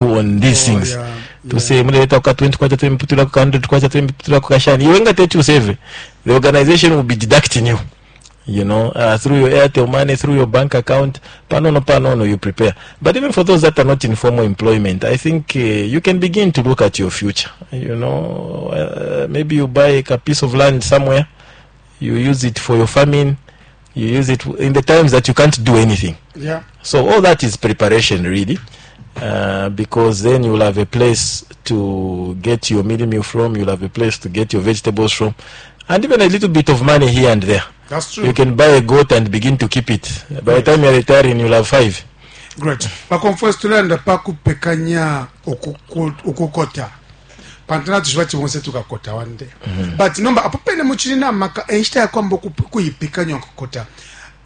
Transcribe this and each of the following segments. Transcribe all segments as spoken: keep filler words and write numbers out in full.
On these Oh, things yeah, to yeah. say muleta ka twenty kwacha, tulemuputula ka hundred kwacha, tulemuputula ka shani. Iwe nga teti usave, the organization will be deducting you you know uh, through your Airtel Money, through your bank account, panono panono. You prepare. But even for those that are not in formal employment, I think uh, you can begin to look at your future you know uh, maybe you buy a piece of land somewhere, you use it for your farming, you use it in the times that you can't do anything. Yeah. So all that is preparation, really, uh, because then you'll have a place to get your mealie meal from, you'll have a place to get your vegetables from, and even a little bit of money here and there. That's true. You can buy a goat and begin to keep it. By the time you're retiring, you'll have five. Great. Bakomfwesi, tulanda pa kupekanya ukuku- ukukota, pantu natushiba bonse tukakota one day, but nomba apo pene muchili na maka enshita yakwamba kuipikanya ukukota.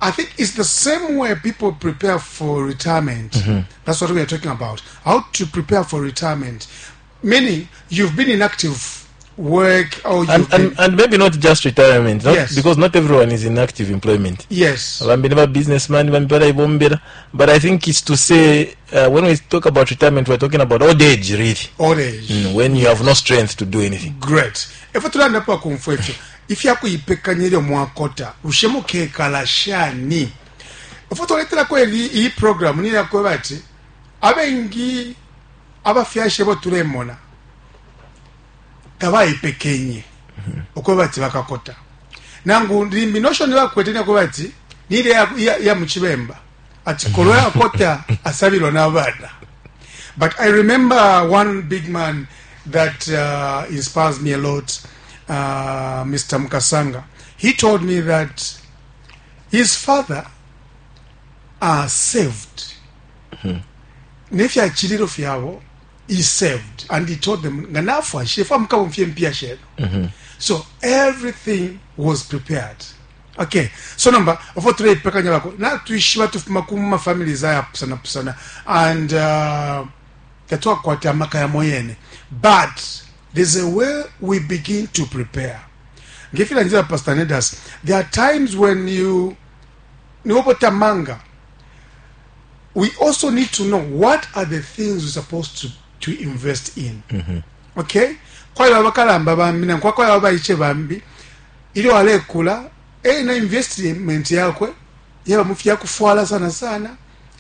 I think it's the same way people prepare for retirement. That's what we are talking about, how to prepare for retirement, meaning you've been in active work or you've And, been and, and maybe not just retirement, not, Yes. because not everyone is in active employment. Yes bambi ne ba businessman, bambi balaibombera. But I think it's to say, uh, when we talk about retirement, we're talking about old age, really. Old age. Mm, when you have no strength to do anything. Great. Efo tulanda pa kumfwa ifyo ifyakuipekanya ilyo mwakota, bushe mukekala shani? Efo twaletelako ili iyi program niyakweba ati abengi abafyashi bo tulemona tabayipekenye ukweba ati bakakota, nangu limbi notion bakwete niyakweba ati nile ya, ya, ya muchibemba ati kolwe akota asabilwa n'abana. But I remember one big man that uh, inspires me a lot, uh, Mister Mkasanga. He told me that his father uh, saved. Nefyachililo fyabo he saved, and he told them, nga nafwa shefa mukabomfye mpya sheno. So everything was prepared. Okay, so nomba ofo tuleipekanya bako natwishiba tufuma ku ma families ayapusana pusana and uh, tatwakwata amaka yamo yene, but there's a way we begin to prepare. Ngefila njira, Pastor Nedas, there are times when you niwopotamanga. We also need to know what are the things we're supposed to, to invest in. Okay, kwaliba bakalamba bambi nankwakwa baiche bambi ilyo alekula ena investment yakwe yaba mu fyakufwala sana sana,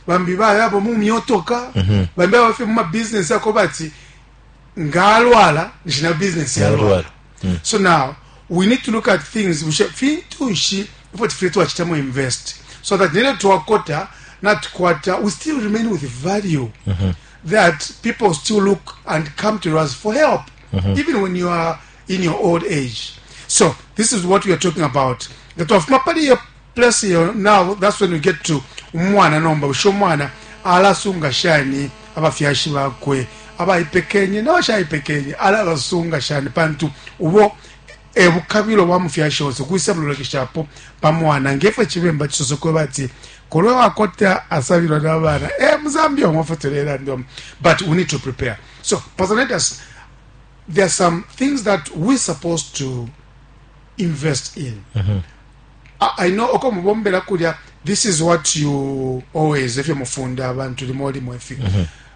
bambi bayabo mu myotoka, bambi abafe mu mabusiness yako bati ngalwala nishina business yalwala. Yalwala. So now we need to look at things, bushe fintu nshi ifo tifile twachitamo invest so that nene twakota natukwata we still remain with value, that people still look and come to us for help even when you are in your old age. So this is what we are talking about, nga twafuma pali iyo place iyo. Now that's when we get to umwana. Nomba bushe umwana alasunga shani abafyashi bakwe abayipekenye n'abashayipekenye? Alabasunga shani? Pantu ubo ebukabilo bwa mufyashi wose kwisa mulolekeshapo pamwana ngefo chibemba chisoso kwe bati kolwe wakota asabilwa n'abana e muzambia omwafotolela ndomo. But we need to prepare. So Pastor Nedas, there are some things that we're supposed to invest in. I, I know oko mubombela kulya, this is what you always efyo mufunda abantu limo limo ifi.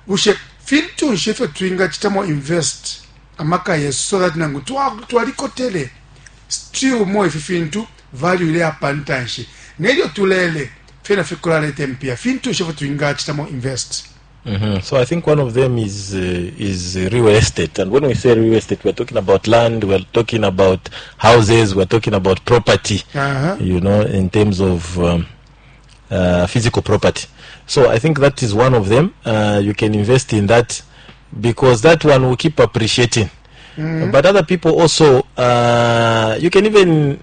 Bushe fintu nshi efyo twingachitamo invest amaka yesu so that nangu twa- twalikotele still mo ifi fintu value ile apantanshi nelyo tulele fyena fikulaleta mpya? Fintu nshi efyo twingachitamo invest? Mhm. So I think one of them is uh, is real estate, and when we say real estate, we're talking about land, we're talking about houses, we're talking about property. uh-huh. You know, in terms of um, uh, physical property. So I think that is one of them. Uh, you can invest in that because that one will keep appreciating. But other people also, uh, you can even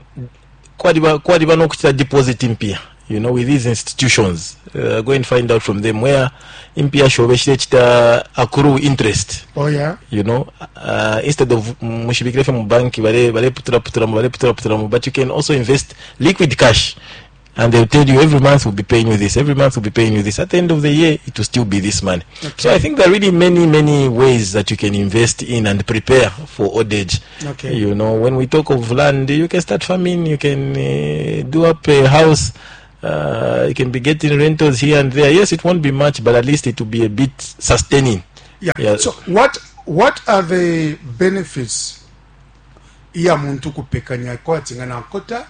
kwaliba kwaliba nokuchita deposit impia you know with these institutions. Uh, go and find out from them where impia shobe shilechita accrue interest. Oh yeah. you know uh, instead of mushibikire mu banki bale bale putura putura bale putura putura, but you can also invest liquid cash and they'll tell you every month we'll be paying you this, every month we'll be paying you this. At the end of the year it will still be this money. So I think there are really many, many ways that you can invest in and prepare for old age. Okay. You know when we talk of land, you can start farming, you can uh, do up a house, uh, you can be getting rentals here and there. Yes, it won't be much, but at least it will be a bit sustaining. Yeah. Yeah. So what what are the benefits iya muntu kupekanya kwati nga nakota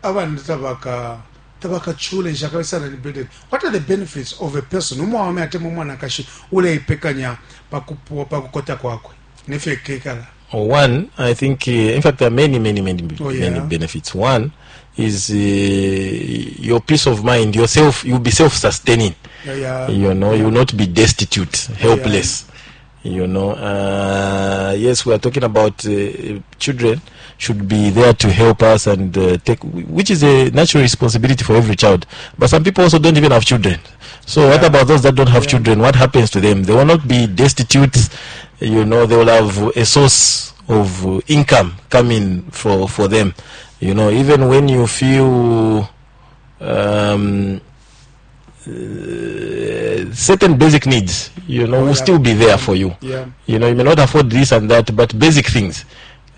abana tabaka tabakachule nshakabe sana ni burden. What are the benefits of a person umwaume atemwa umwanakashi uleipekanya pakupu pakukota kwakwe nefyo kekala? One, I think, uh, in fact, there are many, many, many, Oh, yeah. many benefits. One is uh, your peace of mind, yourself, you'll be self sustaining. Yeah, yeah. You know, you will not be destitute, helpless. You know, uh, yes, we are talking about uh, children should be there to help us and uh, take, which is a natural responsibility for every child. But some people also don't even have children. So what Yeah. about those that don't have Yeah. children? What happens to them? They will not be destitute. You know, they will have a source of uh, income coming for for them. You know, even when you feel um, uh, certain basic needs, you know, Oh, will yeah. still be there for you. Yeah. You know, you may not afford this and that, but basic things.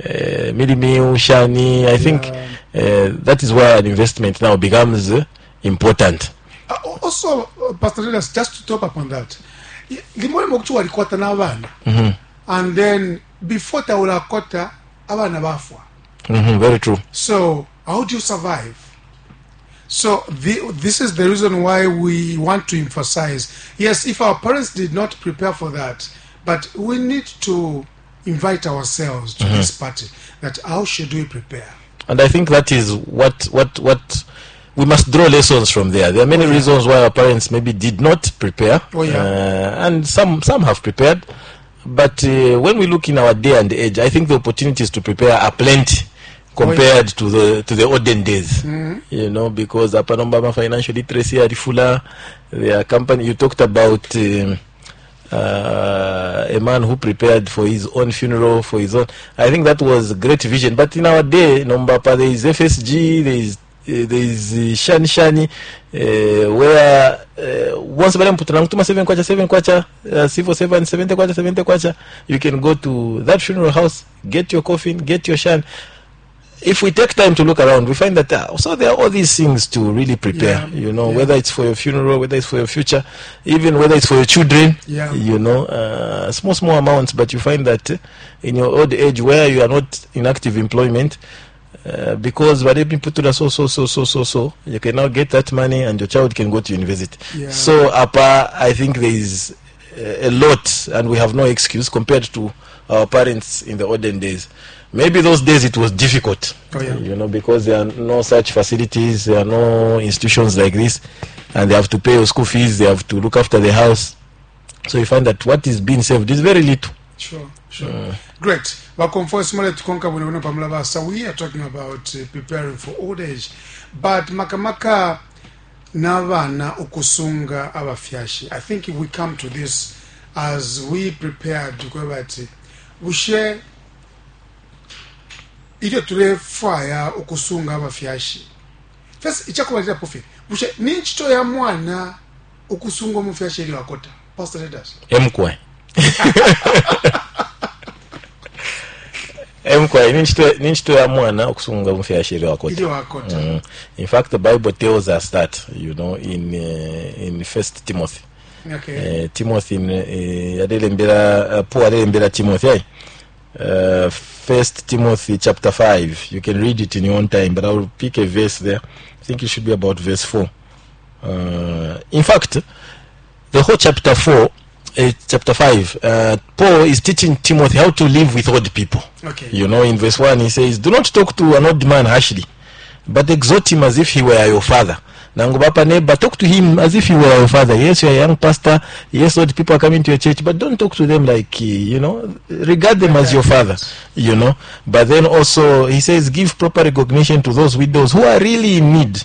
Uh, mealie meal, shani, I think Yeah. uh, that is where an investment now becomes uh, important. Uh, also, uh, Pastor Elias, just to top up on that, y- limo limo kuti walikwata n'abana and then before taulakota abana bafwa. hmm very true. So how do you survive? So the, this is the reason why we want to emphasize, yes, if our parents did not prepare for that, but we need to invite ourselves to this party, that how should we prepare? And I think that is what what what we must draw lessons from there. There are many reasons why our parents maybe did not prepare, Oh, yeah. uh, and some some have prepared. But uh, when we look in our day and age, I think the opportunities to prepare are plenty compared to the to the olden days. You know, because apa nomba financial literacy alifula, their company. You talked about. Um, uh, a man who prepared for his own funeral, for his own. I think that was great vision. But in our day, Nombapa, there is F S G, there is uh, there is uh, Shani Shani, uh, where uh, once balemuputula mutuma seven kwacha, seven kwacha, uh, civil seven, seventy kwacha, seventy kwacha, you can go to that funeral house, get your coffin, get your shan. If we take time to look around, we find that uh, so there are all these things to really prepare. Yeah, You know, yeah. whether it's for your funeral, whether it's for your future, even whether it's for your children. Yeah. You know, uh, small small amounts, but you find that uh, in your old age where you are not in active employment, Uh, because baleputula so so so so so so you can now get that money and your child can go to university. Yeah. So apa, I think there is uh, a lot and we have no excuse compared to our parents in the olden days. Maybe those days it was difficult, Oh, yeah. you know because there are no such facilities, there are no institutions like this, and they have to pay your school fees, they have to look after the house. So you find that what is being saved is very little. Sure, sure. Great. Bakomfo muletukonka bwino bwino pamulabasa. We are talking about uh, preparing for old age. But makamaka n'abaana okusunga abafyashi. I think if we come to this as we prepared tukweba ati bushe ilyo tulefwaya ukusunga abafyashi. First, ichakubalilapo fye, bushe ni nchito ya mwana ukusunga umufyashi ilyo akota? Pastor Leaders. Emkwe emkwe, ni nchito ya mwana okusunga umufyashi ilyo akota. Ilyo akota. Mm. In fact, the Bible tells us that, you know, in uh, in First Timothy. Okay. Uh, Timothy uh, alelembera uh, Paul alelembera Timothy ayi. Uh, First Timothy chapter five. You can read it in your own time, but I will pick a verse there. I think it should be about verse four. Uh, in fact, the whole chapter four, uh, chapter five, uh, Paul is teaching Timothy how to live with old people. Okay. You know, in verse one, he says, "Do not talk to an old man harshly, but exhort him as if he were your father." Nangu bapa neighbor, talk to him as if he were your father. Yes, you're a young pastor. Yes, old people are coming to your church, but don't talk to them like, uh, you know, regard them as your father, you know. But then also, he says, "Give proper recognition to those widows who are really in need.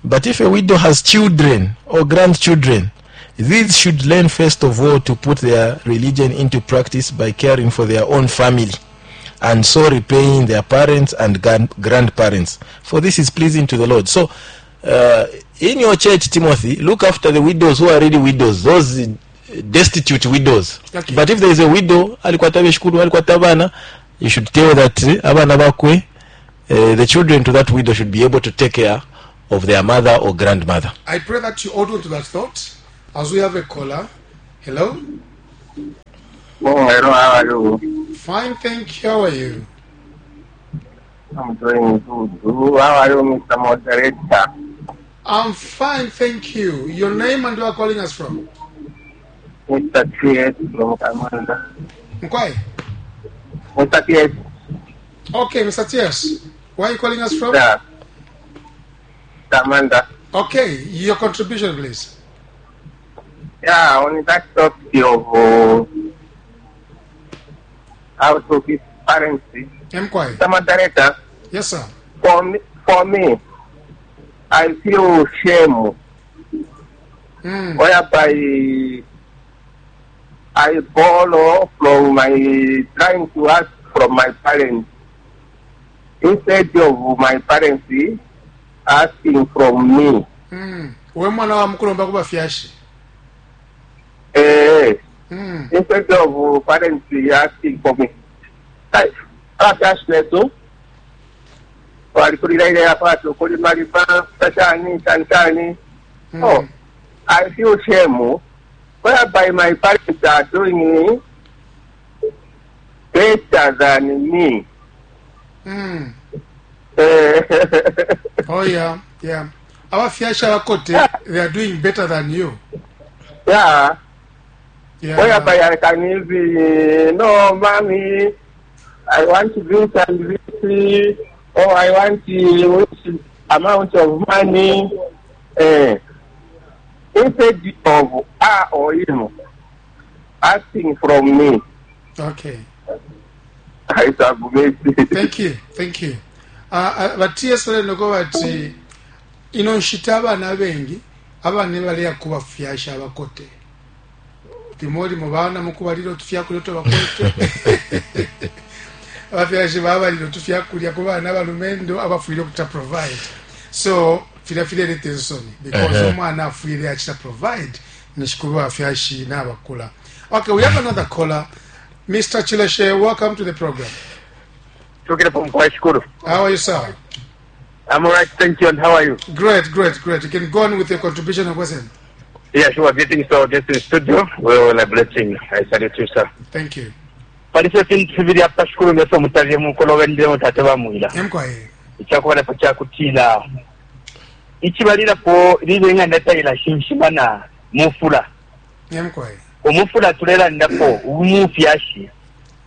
But if a widow has children or grandchildren, these should learn first of all to put their religion into practice by caring for their own family and so repaying their parents and grand- grandparents. For this is pleasing to the Lord." So, uh, in your church, Timothy, look after the widows who are really widows, those uh, destitute widows. Okay. But if there is a widow, alikwata beshikulu, alikwata abana, you should tell that uh, abana bakwe, uh, the children to that widow should be able to take care of their mother or grandmother. I pray that you hold on to that thought as we have a caller. Hello? Oh, hello, how are you? Fine, thank you. How are you? I'm doing good. How are you, Mister Moderator? I'm fine, thank you. Your name and where you are calling us from? Mister T S from Kamanda. Mkwai. Mister T S. Okay, Mister T S. Where are you calling us from? Yeah. Kamanda. Okay, your contribution, please. Yeah, on that topic of uh, how to be parents. Mkwai. Mister Moderator. Yes, sir. For me, for me, I feel shame. Mm. Whereby I borrow from my, trying to ask from my parents, instead of my parents asking from me. Mm. We mwana wa mukulomba ku bafyashi. Eh, Mm. instead of parents asking for me. Abafyashi besu walikulira ile yapatu kulima lipa shani shani shani. Mm. Oh, I feel shame whereby my parents are doing better than me. Mm. Eh, Oh yeah, yeah. Abafyashi abakote, they are doing better than you. Yeah. Yeah. Whereby I can even, no, mommy, I want this and this, or I want this amount of money. Eh, instead of her or him asking from me. Okay. I submit. Thank you, thank you. Uh, uh, ba T S noko bati ino nshita abana abengi abana baleya ku bafyashi abakote limo limo bana mukubalira otufyakulya otwabakote abafyashi babalira otufyakulya ku bana abalumendo abafwire okuta provide, so filya fileleta ensoni because Uh-huh. omwana afwire akita provide nishikuba bafyashi n'abakula. Okay, we have another caller. Mister Chileshe, welcome to the program. Talking from Kwashkuru. How are you, sir? I'm all right, thank you. And how are you? Great, great, great. You can go on with your contribution and question. Yeah, sure. Greetings to our guest in studio. Well, a blessing. I salute you, sir. Thank you. Palise fintu fibili apa shukuru ngeso mutavye mukolo mutate bamwila. Mkwaye. Ichakubalapo kyakutila ichibalirapo lile ng'anda tayila shinshimana mufula. Mkwaye. Omufula tulelandapo umufyashi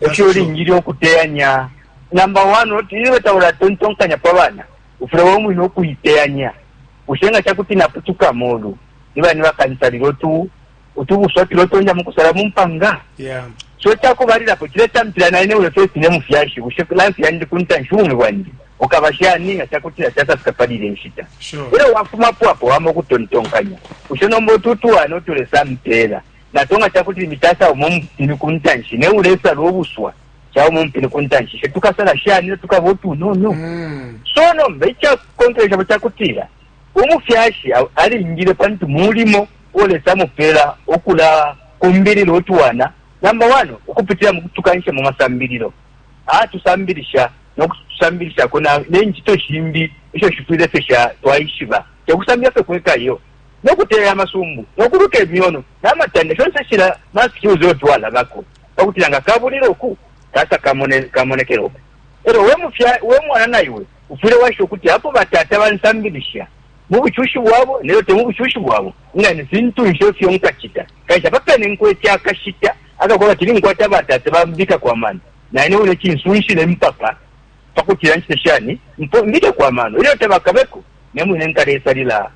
ekyo olingiri okuteyanya number one oti tawula tontonkanya pa bana ufule womwine okuyiteyanya ushenga kyakuti naputuka molu niba nibakansalira otu otubuswa tulotonja mukusala mumpanga. Yeah. So kyakubalirapo kiretampira naine ule first ne mufyashi ushe life yandi kuntanshi ubumi bwandi okabashani nga kyakutira kyasafika palire nshita. Sure. Era wafumapo apo wama okutontonkanya ushe nomba otutuwana otulesa mpeera natonga kyakuti mitasa omo mupini kuntanshi ne ulesala obuswa kyawo mupini kuntanshi she tukasala shani tukaba otunono. Mm. So nomba ekyakonkeresha kyakutira omufyashi alingire pantu mulimo olesa mupeera okula kumbirira otuwana number one okupitira mukutukanisha mu masambiriro atusambirisha nokutusambirishako nenkito shimbi esho shifwire ffe sha twaishiba tekusambira ffe kwekayo nokuteera amasumbu nokuluka emyono n'amatanda shonse shira maskills otwalabako pakutira nga kabulira oku kasa kamonekera oku era we mwana naiwe ufwire washa okuti apo batata bansambirisha mu buchushi bwabo nero te mu buchushi bwabo nga ni fintu nsho fyonkachita kaisha papene nkwetya akashita akakola tiri nkwata batata bambika kwa mano naine ule chinsunshile mpaka pakutira nchite shani mbike kwa mano ilyo tabakabeko nemwine nkalesalila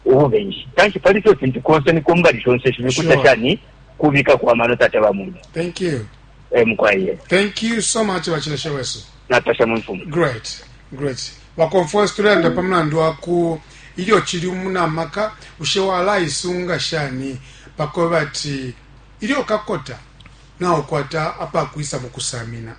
ububenshi kanshi paliso fintu konse nikombali shonse shibikuta. Sure. Shani kubika kwa mano tata bamwine. Thank you. Eh mukwaye. Thank you so much, Bachileshe wesu. Natasha mumfumu. Great, great. Bakonfo tulenda pamulandu waku ilyo chili munamaka ushe walaisunga shani pakoba ati ilyo kakota naokwata apakwisa mukusamina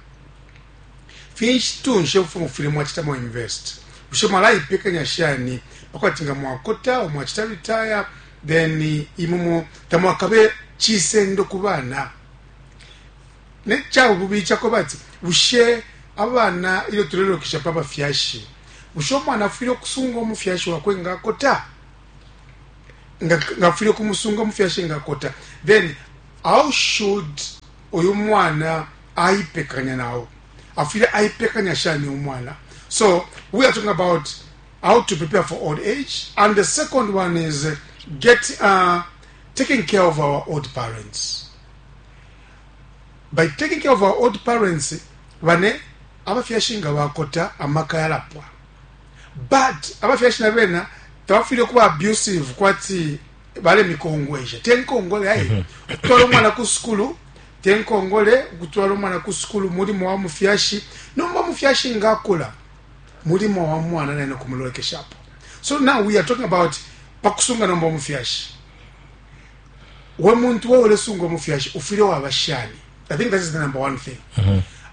finshi tunshe mufile mwachitamo invest ushe mwalaipekanya shani pakwati nga mwakota omwachita retire then imumo tamwakabe chisendo ku bana ne kyabubi kyakoba ati bushe abana ilyo tulelokesha pa bafyashi bushe omwana afwile okusunga omufyashi wakwe ngaakota nga ngafwile okumusunga omufyashi ngaakota, then how should Uyu mwana aipekanya nao afwile aipekanya shani umwana. So we are talking about how to prepare for old age, and the second one is uh, get uh, taking care of our old parents. By taking care of our old parents, bane abafyashi nga bakota, amaka yalapwa, but abafyashi nabena tabafwile kuba abusive kwati balemikongwesha. Tenkongole ayi kutwala umwana ku sukulu, tenkongole kutwala umwana ku sukulu mulimo wa mufyashi. Nomba mufyashi ngakula, mulimo wa mwana naine kumulolekeshapo. So now we are talking about pakusunga nomba mufyashi. We muntu wewe ulesunga mufyashi, ufile waba shani? I think that is the number one thing.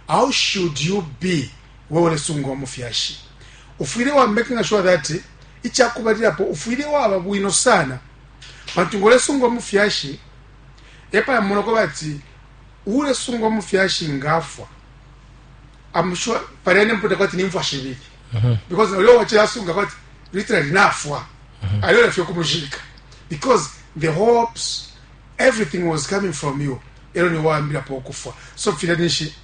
How should you be wewe ulesunga mufyashi? Ufile wa making sure that ichakubalilapo ufile waba bwino sana, pantu ngolesunga mufyashi epa munoko bati ulesunga mufyashi ngafwa, I'm sure palene mputa kwati nimfwa shibili, because uyo wachilasunga kwati literally nafwa, aliyo fyo kumushika, because the hopes, everything was coming from you. Ero ni waambira po kufwa, so fila nishi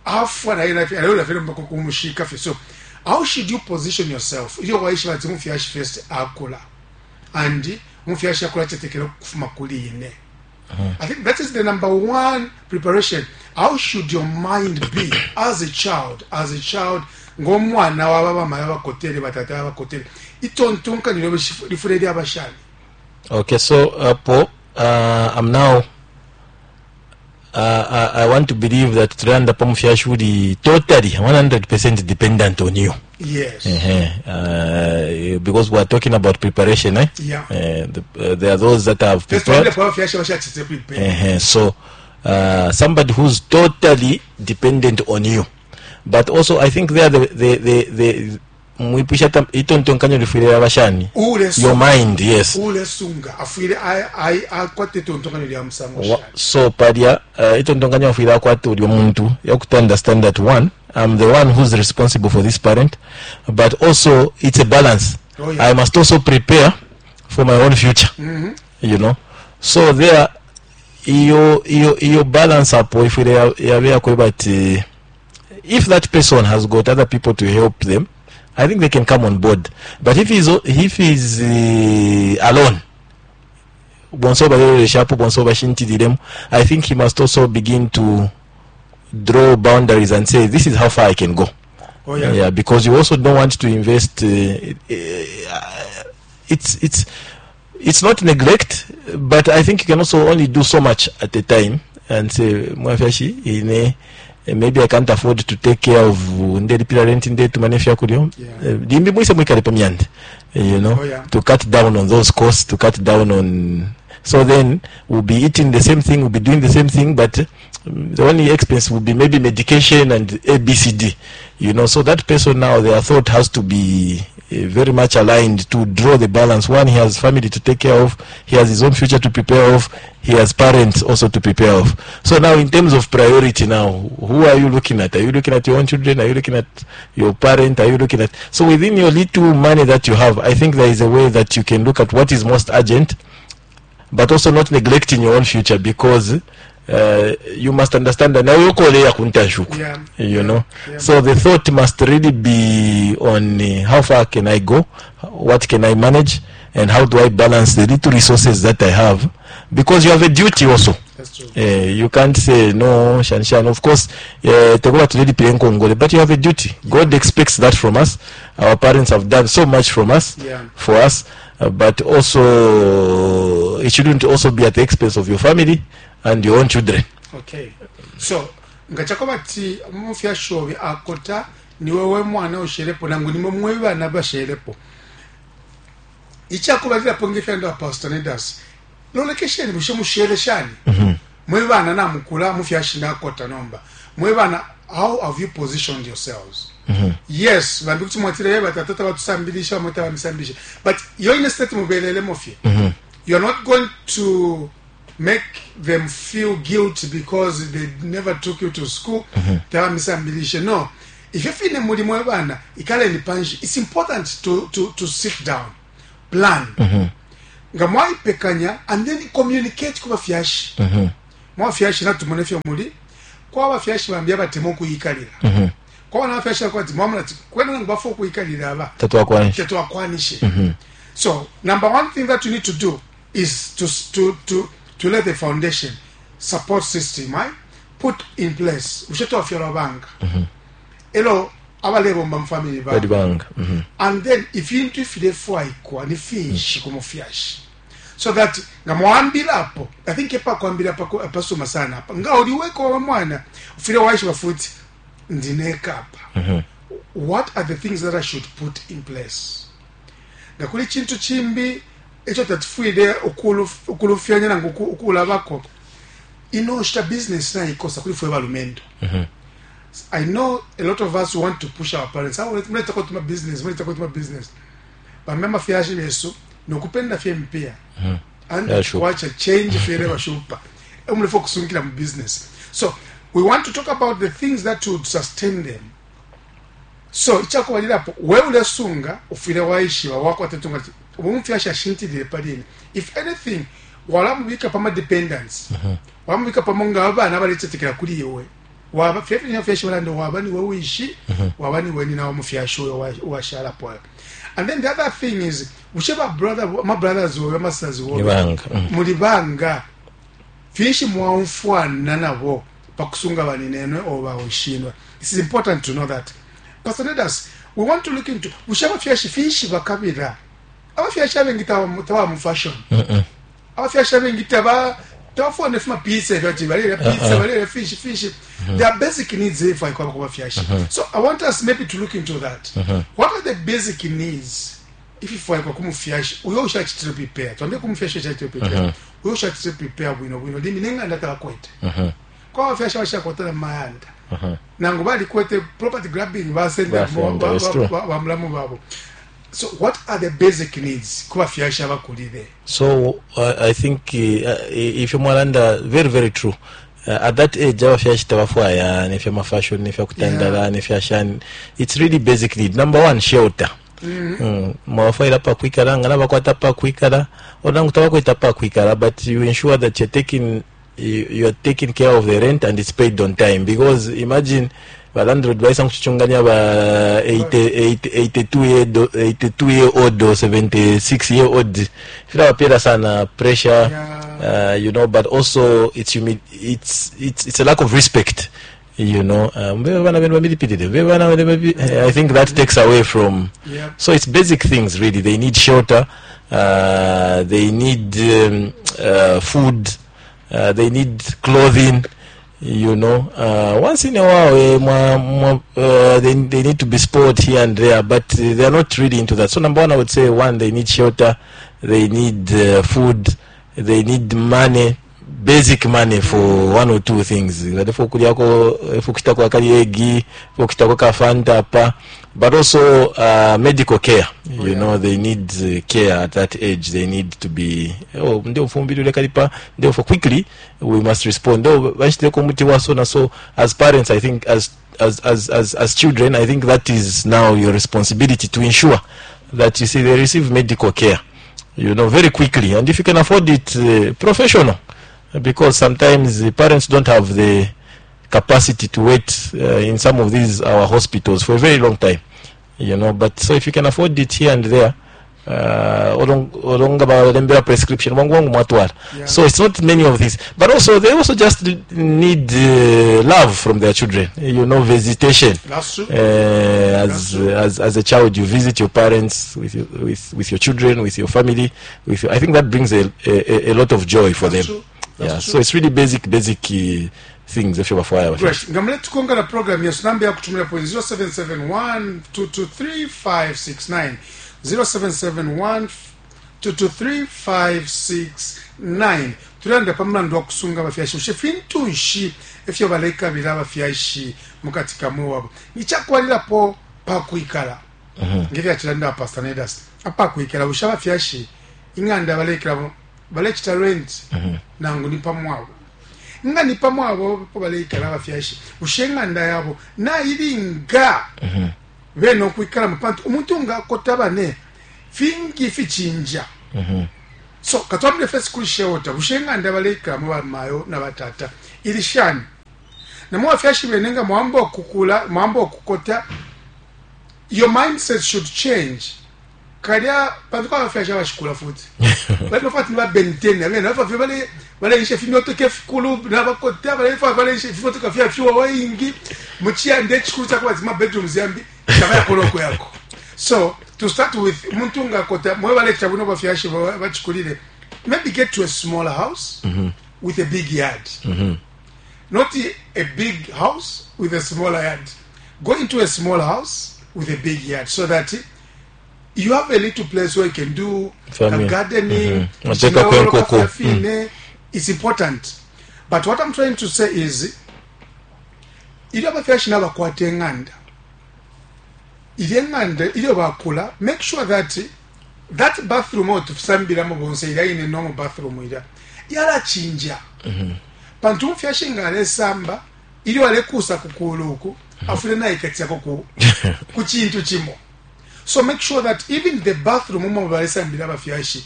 afwa na ila aliyo fyo mpaka kumushika fyo. So how should you position yourself iyo waishi bati mufyashi first akula and mufyashi akula chetekera kufuma kuli ine? I think that is the number one preparation. How should your mind be as a child? As a child, ngomwana wa baba maya bakotele, batata bakotele, itontonkanyo lifule lyabashani? Okay, so uh, Paul, uh, I'm now. Uh, I, I want to believe that tulanda pamufyashi uli totally one hundred percent dependent on you. Yes. Uh-huh. Uh, because we are talking about preparation, eh? Yeah. Uh, the, uh, there are those that have First prepared. one, abafyashi bashatite prepare. Uh-huh. So, uh, somebody who's totally dependent on you. But also, I think there the the the, the mwipusha tam- itontonkanyo lifwile abashani. Your mind, yes. Ulesunga afwile akwate itontonkanyo lya musango Wa- shani? So palya uh, itontonkanyo afwile akwate ulyo muntu yakuti understand that one, I'm the one who's responsible for this parent, but also it's a balance. Oh, yeah. I must also prepare for my own future you know So there iyo iyo iyo balance apo ifwile ya- yabe yakweba ati if that person has got other people to help them, I think they can come on board. But if he's if he's uh, alone, bonso baleloleshapo, bonso bashintililemo, I think he must also begin to draw boundaries and say, "This is how far I can go." Oh, yeah. Yeah, because you also don't want to invest. uh, uh, it's it's it's not neglect, but I think you can also only do so much at a time and say, "Mwafyashi ine eh, maybe I can't afford to take care of ndelipira rent, ndetumane fyakulya." Yeah. Eh, limbi mwise mwikale pamyande you know Oh, yeah. to cut down on those costs, to cut down on. So then we'll be eating the same thing, we'll be doing the same thing, but um, the only expense will be maybe medication and A B C D you know So that person now, their thought has to be uh, very much aligned to draw the balance. One, he has family to take care of, he has his own future to prepare of, he has parents also to prepare of. So now, in terms of priority now, who are you looking at? Are you looking at your own children? Are you looking at your parent? Are you looking at? So within your little money that you have, I think there is a way that you can look at what is most urgent, but also not neglecting your own future, because uh, you must understand that now yokoleya kuntashuku. Yeah. you know Yeah. So the thought must really be on uh, how far can I go, what can I manage, and how do I balance the little resources that I have, because you have a duty also. That's true. uh, you can't say no shanshan. Of course, uh, tekuba tulilipire nkongole, but you have a duty. God expects that from us. Our parents have done so much from us, Yeah. for us, uh, but also it shouldn't also be at the expense of your family and your own children. Okay, so nga chakoba ti mufyashi obe akota, niwe we mwana ushelepo nangu nimwe mwe bana bashelepo, ichakubalilapo ngefyanda Pastor Nedas, lolekesheni bushe mushele shani mwe bana namukula, mufyashi nakota. Nomba mwe bana, how have you positioned yourselves? Yes, bambi kuti mwatile batata batusambilisha, bamwe bamisambilisha, but yo ine state mubelelemo fye, you are not going to make them feel guilty because they never took you to school, tabamisambilishe. No, ifyo fine muli mwe bana, ikaleni panshi. It's important to, to, to sit down, plan nga mwaipekanya, and then communicate ku bafyashi. Mwafyashi natumone ifyo muli kwa bafyashi bambi abatemwa ukuyikalila, kwa bana bafyashi bakwati mwamona ati kwena nangu bafwa ukuyikalila aba Tatwakwanisha. Tetwakwanishe. So number one thing that you need to do is to to to to let the foundation support system, right, put in place. Bushe twafyalwa banga elo abalebomba mu family bali ba banga. Mhm. And then ifintu ifilefwaikwa ni finshi ku mufyashi, so that nga mwambilapo, I think epakwambila pako- pasuma sana apa nga uliweko wa mwana ufile waishiba futi ndinekapa, what are the things that I should put in place? Nga kuli chintu chimbi icho tatifwile ukuluf- ukulufyanya nangu uku- ukulabako ino nshita business naikosa kuli fwe balumendo. I know a lot of us want to push our parents, "Ah, muletako tuma business, muletako tuma business." Bambe amafyashi besu nokupenda fye mpia and Yeah, sure. wacha change fyele bashupa umulefo kusunkila mu business. So we want to talk about the things that would sustain them. So ichakubalilapo, we ulesunga ufwile waishiba wakwatatunga ati umufyashi ashintilile palini. If anything, walamubika pama dependence, walamubika pamo nga abana baletetekela kuli iwe, waba fyefye balanda waba niwe wishi, waba niwe nina wamufyashi uyo wa- uwashalapo. And then the other thing is, bushe ba brother, ma brothers wowe, ma sisters wowe Ni banga. Mm. muli banga, finshi mwaumfwana nabo pakusunga baninenwe or bawishinwe? It is important to know that. Pastor Nedas, we want to look into bushe abafyashi finshi bakabila. Abafyashi abengi taba taba mu fashion, abafyashi abengi taba tabafuna fima pizza fyati balele pizza, balele fish fish. There are basic needs if I kwa bafyashi. So I want us maybe to look into that. What are the basic needs if ifwaikwa kumufyashi uyo ushachitire prepare? Twambe kumufyashi uchachitire prepare, uyo ushachitire prepare bwino bwino limi neng'anda tabakwete. Kwa bafyashi abashakwatana mumayanda nangu balikwete property grabbing, basenda Basenda, it's true. bamulamu babo. So what are the basic needs kubafyashi abakulire? So uh, I think uh, ifyo mwalanda very very true. Uh, at that age abafyashi tabafwaya nefya mafashion, nefya kutandala, Yeah. nefya shani. It's really basic need. Number one, shelter. Mm. Mwabafwaila pakwikala nga nabakwata pakwikala or nangu tabakweta pakwikala, but you ensure that you're taking you, you are taking care of the rent and it's paid on time, because imagine ba landlord baisa nkuchichunganya ba eighty, eighty, eighty-two year do- eighty-two year old or seventy-six year old, filabapela sana pressure. Yeah. uh, you know but also it's humi- it's it's it's a lack of respect you know uh, mbe bana benu bamilipilile, mbe bana benu babi- eh, I think that takes away from Yeah. So it's basic things really. They need shelter, uh, they need um, uh, food, uh, they need clothing you know uh, once in a while, eh, mwa, mwa, uh, they, they need to be spoiled here and there, but uh, they are not really into that. So number one, I would say, one, they need shelter, they need uh, food, they need money, basic money for one or two things, for kulyako, for kushitako akali egg, for kushitako ka Fanta pa, but also uh, medical care you yeah. know they need uh, care at that age. They need to be, oh, ndio mfumbili ule kalipa ndio for quickly we must respond, ndio bashiteko muti wa so na so. As parents, I think, as as as as, as children, I think that is now your responsibility to ensure that you see they receive medical care you know very quickly, and if you can afford it, uh, professional, because sometimes the parents don't have the capacity to wait uh, in some of these our hospitals for a very long time you know but so if you can afford it here and there, uh, olong- olonga balembera prescription wangu wangu mwatwala. Yeah. So it's not many of these, but also they also just need uh, love from their children you know visitation. That's true. uh, as, That's true. as as a child, you visit your parents with your, with with your children, with your family, with your, I think that brings a, a, a lot of joy for That's them. true. That's Yeah. true. So it's really basic basic uh, things if you bafwaya. Great. Nga muletukonga na program yesu, namba yakutumira po zero seven seven one two two three five six nine, zero seven seven one two two three five six nine. Tulanda pa mulandu wa kusunga abafyashi. Bushe fintu nshi ifyo balekabila abafyashi mukati ka mwabo? Ichakwalilapo pakwikala, ngefyachilanda Pastor Nedas, apakwikala, bushe abafyashi ing'anda balekela balechita rent nangu ni pamwabo? Nga ni pamwabo po baleikala abafyashi, bushe ing'anda yabo nailinga bene okwikalamo? Pantu umuntu nga akota bane fingi fichinja. So katwambile first kuli shelter, bushe ing'anda baleikalamo bamayo na batata ili shani? Namwe bafyashi bene nga mwamba okukula, mwamba okukota, your mindset should change. Kalya pantu kwa bafyashi abashikula futi bali fati ni ba Ben ten abene bafa bale baleisha fimyotoka efikulu nabakota balefa baleisha fimyotoka fya fyuwa waingi muchiyande echikulu chakuba zima bedrooms yambi tabayakoloko yako. So to start with, muntu nga kota mwe balekita buno bafyashi bachikulile, maybe get to a smaller house with a big yard. Not a big house with a smaller yard. Go into a small house with a big yard so that you have a little place where you can do Farming. a gardening. Mhm. Wateka kwenkoko. Mm. It's important. But what I'm trying to say is, ilyo abafyashi nabakwata eng'anda, ilyo eng'anda ilyo bakula, make sure that that bathroom oyo tusambilamo bonse ilya ine normal bathroom ilya yalachinja. Pantu umufyashi nga alesamba ilyo alekusa kukulu uku afune naikatisako ku, ku chintu chimo. So make sure that even the bathroom umo balesambila abafyashi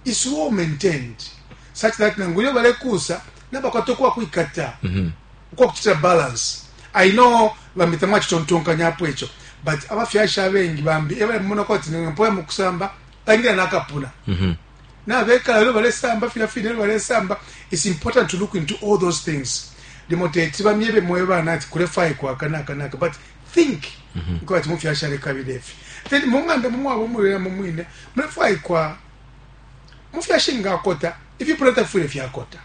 is well maintained such that nangu ilyo balekusa nabakwata okuwa kwikata ukwa kuchita balance. I know bambi tamwachitontonkanyapo ekyo, but abafyashi abengi bambi ebalemona kwati mpoya mukusamba bangira nakapuna nabekala lero balesamba fila fina lero balesamba. It's important to look into all those things. Limo teti bamyebe mwe bana ati kulefai kwaka naka naka, but think nko ati mufyashi alekabila efi. Then mung'anda mumwabo mulera mumwine mulefai kwa mufyashi ngakota ifipula tafwile fyakota.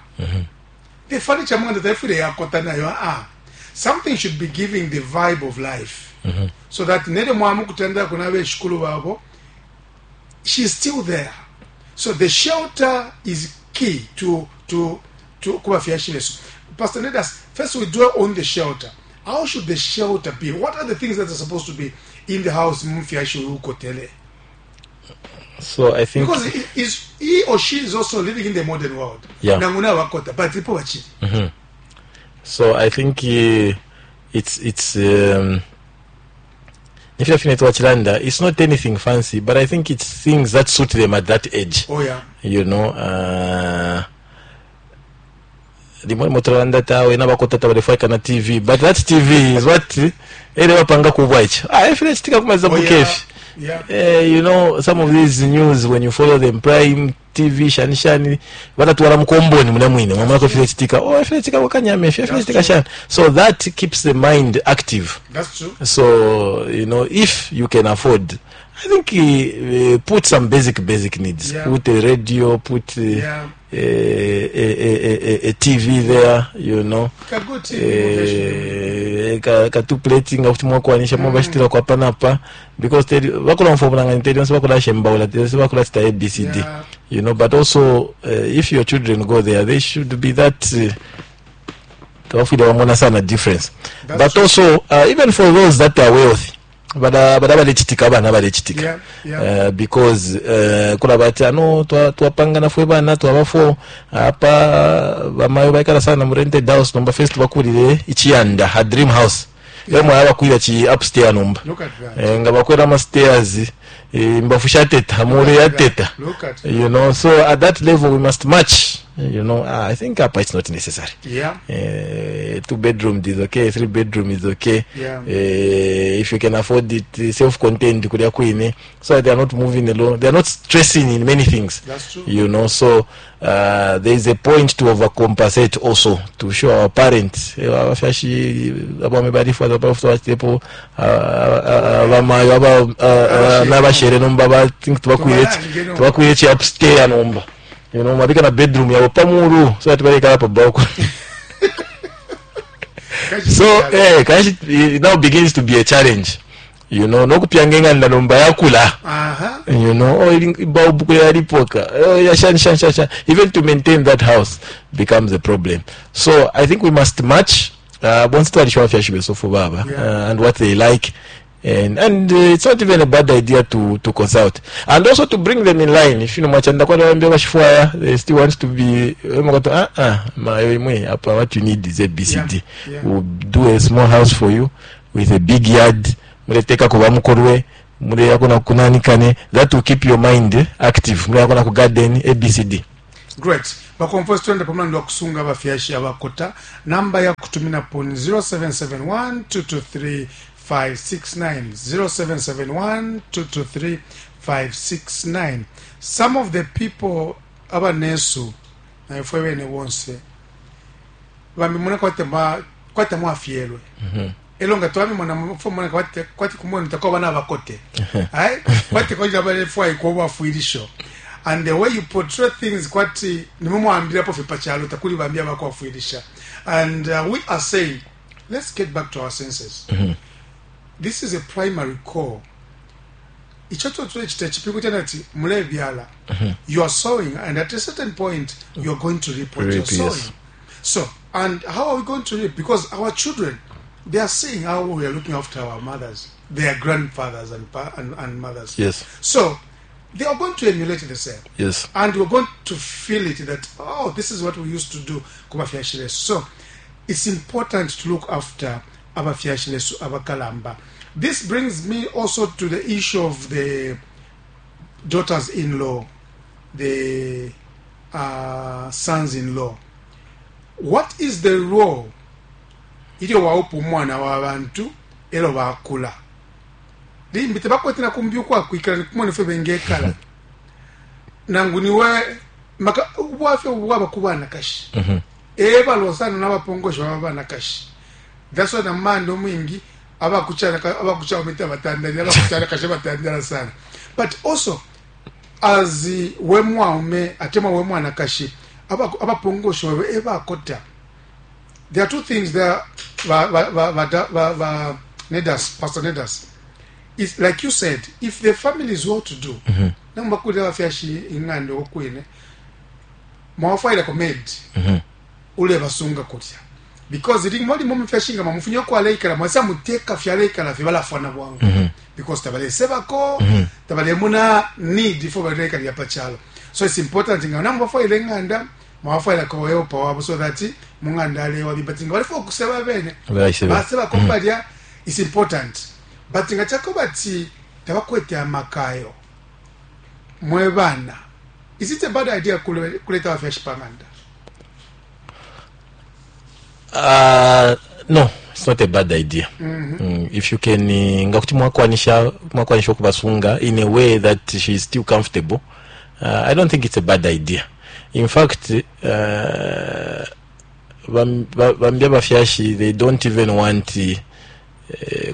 The furniture mung'anda tafwile yakota nayo. Ah, something should be giving the vibe of life so that nere mwamu kutandira kuna beshukulu babo, she's still there. So the shelter is key to to to kubafyashi besu. Pastor Nedas, first we dwell on the shelter. How should the shelter be? What are the things that are supposed to be in the house mufyashi ukotele? So I think Because he, is, he or she is also living in the modern world. Yeah. Nanguna wakota, but ipo bachili. So I think uh, it's it's um, nifila it's not anything fancy, but I think it's things that suit them at that age. Oh yeah. You know, uh, limwe motoranda tawe nabakota tabalefwaika na T V, but that T V is what ere bapanga kubwa ichi ah ifile chitika kumaliza Oh, yeah. bukefi. Yeah. Eh, you know, some of these news, when you follow them, Prime T V, shani shani, batatwala mukomboni muna mwine mwamala kofile chitika, oh ifile chitika wakanyame ifile chitika shani. So that keeps the mind active. That's true. So you know, if you can afford, I think uh, put some basic basic needs. Yeah. Put a radio, put uh, Yeah. a, a, a, a, a T V there, you know. Ka good T V. Eh, ka, ka two plating nga kuti mwakwanisha mm. mwabashitira kwa panapa because teri bakula mfobulanga teri onse bakula shembaula teri bakula chita A B C D. Yeah. You know, but also uh, if your children go there, they should be that uh, tawafwile wamona sana difference. That's But true. also uh, even for those that are wealthy, bada bada balechitika abana balechitika. Yeah, yeah. Uh, because uh, kula bati ano twapanga nafwe bana twabafo apa bamayo baikala sana mu rented house, nomba first bakulire ichiyanda ha dream house yeah. Yamwe abakwira chi upstairs nomba. Look at that. Eh, nga bakwera ama stairs, eh, mbafu shateta mure yateta. Look at You know, so at that level we must match you know ah, I think apa it's not necessary. Yeah. Uh, two bedroom is okay, three bedroom is okay. Yeah. Uh, if you can afford it, self-contained kulya kwine, so that they are not moving alone, they are not stressing in many things. That's true. You know, so uh, there is a point to overcompensate also, to show our parents, eh, abafyashi abame balifu abafutepo abamayo aba nabashere nomba ba think tubakwire Tubalange nomba. Tubakwire chi upstairs nomba, you know, mabika na bedroom yabo pamulu so that balekala pa balcony. So eh kanshi it now begins to be a challenge, you know, nokupyanga eng'anda nomba yakula. Aha. You know, oh ili- bulb yalipoka, oh ya shan shan shan shan, even to maintain that house becomes a problem. So I think we must match uh bonse twalisha abafyashi besofu baba Yeah. uh, and what they like, and and uh, it's not even a bad idea to to consult and also to bring them in line. If you know mwachanda kwa wambia bashifwaya, they still want to be eh, ah ah mayo imwe apa, what you need is A B C D. Yeah, yeah. We'll do a small house for you with a big yard, muleteka kuba mukolwe Muleyako na kunanikane. That will keep your mind active. Muleyako na ku garden A B C D. Great. Bakomfo, twende pamulandu wa kusunga abafyashi abakota. Namba ya kutuminapo ni zero seven seven one two two three five six nine, zero seven seven one two two three five six nine. Some of the people abanesu naifwe bene bonse bambi muna kwate ma kwate mwafyelwe elo nga twamimona mona kwate kwate kumwenu takuba bana bakote ai kwate koja balefwa iko bafwilisho, and the way you portray things kwati nimumwambirapo fye pachalo takuli bambi abakwafwilisha. And uh, we are saying, let's get back to our senses. This is a primary call. Icho tuchita chipingo chanati mulebyala. You are sowing, and at a certain point you are going to reap what Reap, you're sowing. yes. So, and how are we going to reap? Because our children, they are seeing how we are looking after our mothers, their grandfathers and, pa- and, and mothers. Yes. So they are going to emulate the same Yes. and we're going to feel it that, oh, this is what we used to do kubafyashi besu. So it's important to look after abafyashi besu abakalamba. This brings me also to the issue of the daughters-in-law, the uh, sons-in-law. What is the role ilyo waupa umwana wa bantu elo bakula limbi tebakwete nakumbi ukwakwikala kumona ifyo bengekala nangu niwe maka ubwafya bwaba ku banakashi ebalwa sana n'abapongosha baba banakashi. That's why namanda omwingi abakucana batandalira abakucana kashe batandala sana. But also as we mwaume atemwa we mwanakashi abapongosha babe ebakota, there are two things there. Ba, ba, ba, ba, ba, ba, Nedas, Pastor Nedas, it's like you said, if the family is well to do, mm-hmm. Nambakulira abafyashi ing'anda okwine mwafairako maid mm-hmm. ule basunga kutya because limwe limwe mufyashi nga mamufunye okwaleikala mwasa muteka fyaleikala fye balafwana bwangu mm-hmm. because tabalesebako mm-hmm. tabalemuna need for baleikalira pachalo. So it's important nga namubafaire eng'anda mwafairako weopa wabo so that mung'anda alewa but nga balifo okuseba bene basebako mm-hmm. balya. It's important, but nga kyako bati tabakwete amakayo mwe bana, is it a bad idea kuleta abafyashi pang'anda? Uh, no, it's not a bad idea mm -hmm. mm, if you can uh, nga kuti mwakwanisha mwakwanisha okubasunga in a way that she is still comfortable, uh, I don't think it's a bad idea. In fact, uh, bambi abafyashi, they don't even want uh,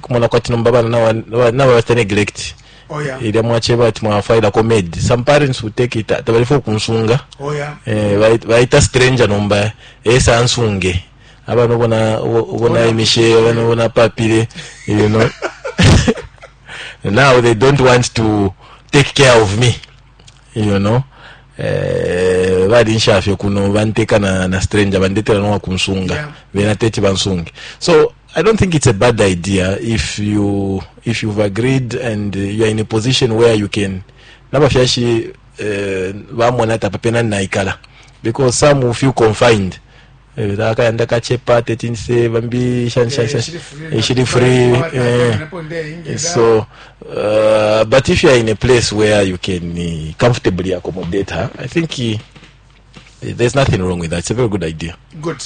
kumona kwati nomba bana naba bata neglect. Oh, yeah. Ilya mwacheba ati mwafailako maid, some parents will take it tabalifo okunsunga. Oh, yeah. Eh, baita stranger nomba esa ansunge abana ubona ubona emishe abana ubona papile you know Now they don't want to take care of me you know eh, balinshafye kuno banteka na, na stranger bandetera nowa kunsunga. Yeah. Bena teti bansunge. So I don't think it's a bad idea if you if you've agreed and you are in a position where you can nabafyashi eh, bamona ati apa pena naikala, because some will feel confined. Eh, akayanda kachepa tetinse bambi shani shani shani shili free eh, so uh, but if you are in a place where you can uh, comfortably accommodate her, I think uh, there's nothing wrong with that. It's a very good idea. Good.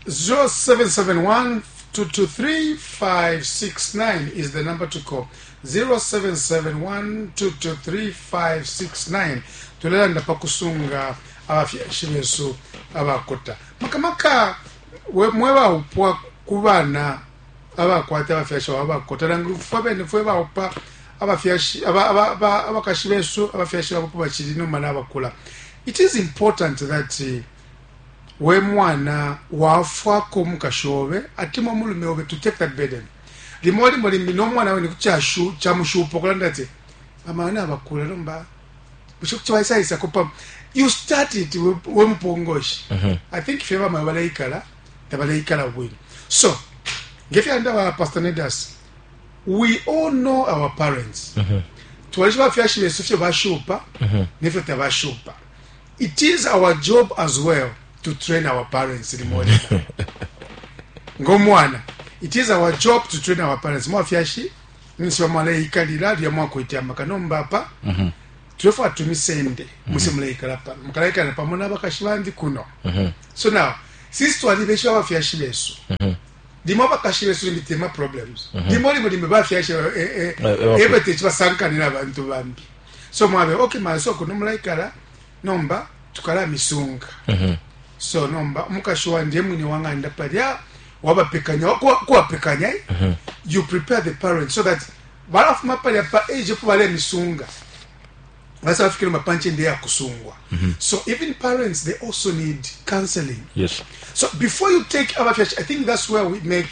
zero seven seven one two two three five six nine is the number to call. zero seven seven one two two three five six nine. Tulelanda pakusunga abafyashi besu abakota makamaka we- mwebaupwa ku bana abakwata abafyashi abo abakota nangu fwe bene fwe baupa abafyashi aba- aba- aba- abakashi besu abafyashi babo bachili noma nabakula. It is important that uh, we mwana wafwako omukashi obe atimwa omulume obe to take that burden. Limo limo limbi n'omwana we nikukyashu kyamushupa okulanda ati bamana abakula nomba bushe kukibaisayisako pa you start it we- wemupongoshi. I think fye bamawe baleikala tabaleikala bwino. So ngefyanda ba Pastor Nedas, we all know our parents. Twalisha bafyashi besu fye bashupa nefyo tabashupa. It is our job as well to train our parents limoleka ng'omwana. It is our job to train our parents. Mwafyashi Ninshi bamwaleikalila lya mwakwete amaka nomba apa tulefwaya tumisende muse muleikala pano mukalaikala pamo n'abakashi bandi kuno. So now since twalibesha abafyashi besu, limo abakashi besu limbi tema problems, limo limo limbi bafyashi Eh, eh, ebete basankanira abantu bambi, so mwabe okay maso kuno mulaikala nomba tukalamisunga. So nomba umukashi wandi emwine wang'anda palya wabapekanya kuwa- kuwapekanya eh? You prepare the parents so that balafuma palya pa age epo balemisunga basa bafikire mapanchende yakusungwa. So even parents, they also need counseling. Yes. So before you take abafyashi, I think that's where we make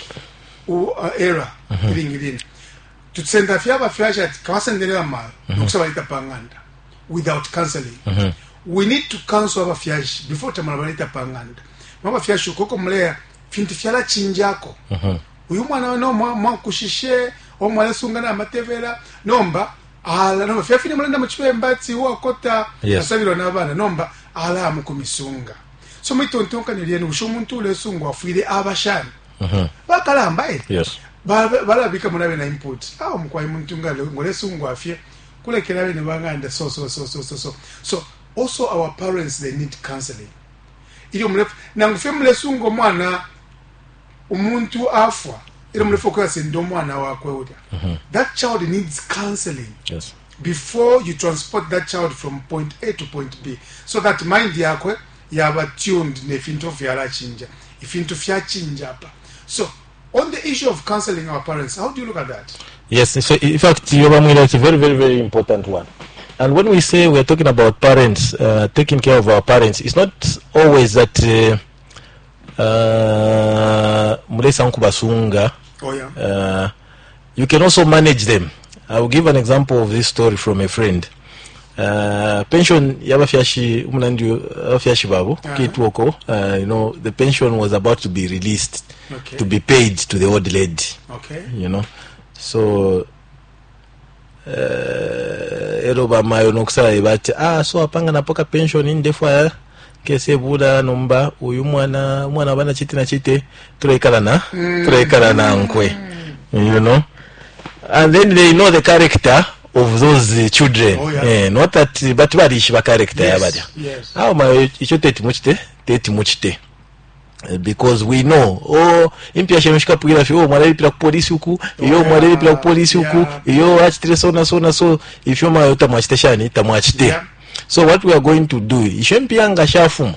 uh, error ilingi tusenda fye abafyashi ati kabasendelera mayo nokusa pa ng'anda without counseling. We need to counsel abafyashi before tamala baleta pa ng'anda. Mwabafyashi ukoko muleya fintu fyalachinjako uyu mwana no mwakushishe omwalesunga n'amatebera nomba ala nomba fyafine mulenda muchibemba ati wakota Yes. asabirwa n'abaana nomba ala mukumisunga. So mwitontonkanyo lyenu bushe omuntu ulesungwa afwire abashani bakalamba eh Yes. Ba- balabika munabe na input awo mukwai muntu nga ngolesungwa afye kulekera bene banganda. So so so so so so so also our parents, they need counseling. Ilyo mulefu nangu fye mulesunga omwana umuntu afwa ilyo mulefu okuyasenda omwana wakwe ulya, that child needs counseling Yes. before you transport that child from point A to point B, so that mind yakwe yaba tuned nefintu fyalachinja ifintu fyachinja apa. So on the issue of counseling our parents, how do you look at that? Yes, so in fact, Yobamwila, it's a very, very, very important one. And when we say we are talking about parents, uh, taking care of our parents, it's not always that uh, uh, mulesa nkubasunga. Oh yeah. Uh, you can also manage them. I will give an example of this story from a friend. Uh, pension yabafyashi umunandi abafyashi babo Uh-huh. kitwoko, uh, you know the pension was about to be released Okay. to be paid to the old lady, okay you know so uh, ero bamayo nokusala bati ah so apanga napoka pension indefwa kese bula nomba uyu mwana umwana bana chiti na chite tuleikala na tuleikala na nkwe you know and then they know the character of those uh, children. Oh, yeah. Eh, not that but balishiba character Yes, yabalya yes. awo mayo icho teti muchite teti muchite. Eh, because we know, oh, impya shenu shikapwira fye, oh, mwalelipira ku polisi uku iyo yeah, mwalelipira ku polisi uku yeah. iyo achitire so na so na so ifyo mayo tamwachite shani tamwachite. Yeah. So what we are going to do, isho mpya nga shafuma,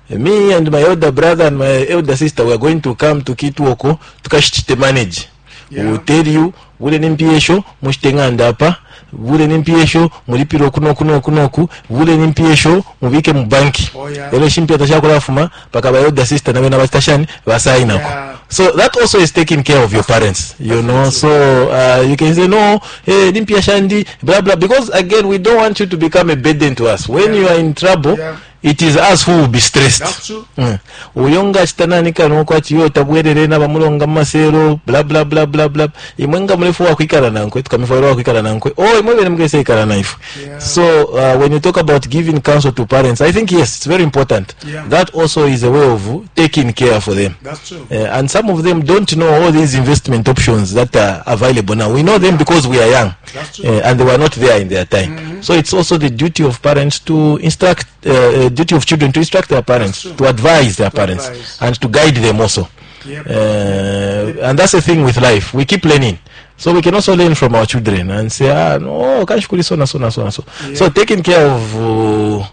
me and my elder brother and my elder sister, we are going to come to Kitwoko tukashichite manage. Yeah. We will tell you bule n'empyesho mushite ng'anda apa bule n'empyesho mulipire oku n'oku n'oku n'oku bule n'empyesho mubike mu banki. Oh, yeah. Ero shimpya tashakulafuma paka ba elder sister nabe nabachitashani basayinako. Yeah. So that also is taking care of your parents, you know. So uh, you can say no, hey, nimpya shandi blah blah, because again we don't want you to become a burden to us when Yeah. you are in trouble. Yeah. It is us who will be stressed. That's true. Mm. Uyo nga chitanani kano kwati yo tabwerere n'abamulonga mu masero bla bla bla bla bla imwe nga mulefu wakwikala nankwe tukamifwaira wakwikala nankwe oh imwe bene mugese ikala naife. Yeah. So uh, when you talk about giving counsel to parents, I think yes, it's very important. Yeah. That also is a way of taking care for them. That's true. Uh, and some of them don't know all these investment options that are available now. We know them because we are young. That's true. Uh, and they were not there in their time. So it's also the duty of parents to instruct, uh, uh, duty of children to instruct their parents, true. to advise their parents, advise. and to guide them also. Yep. Uh, and that's the thing with life. We keep learning. So we can also learn from our children and say, ah, no, kashukuri so na so na so na so. Yeah. So taking care of uh,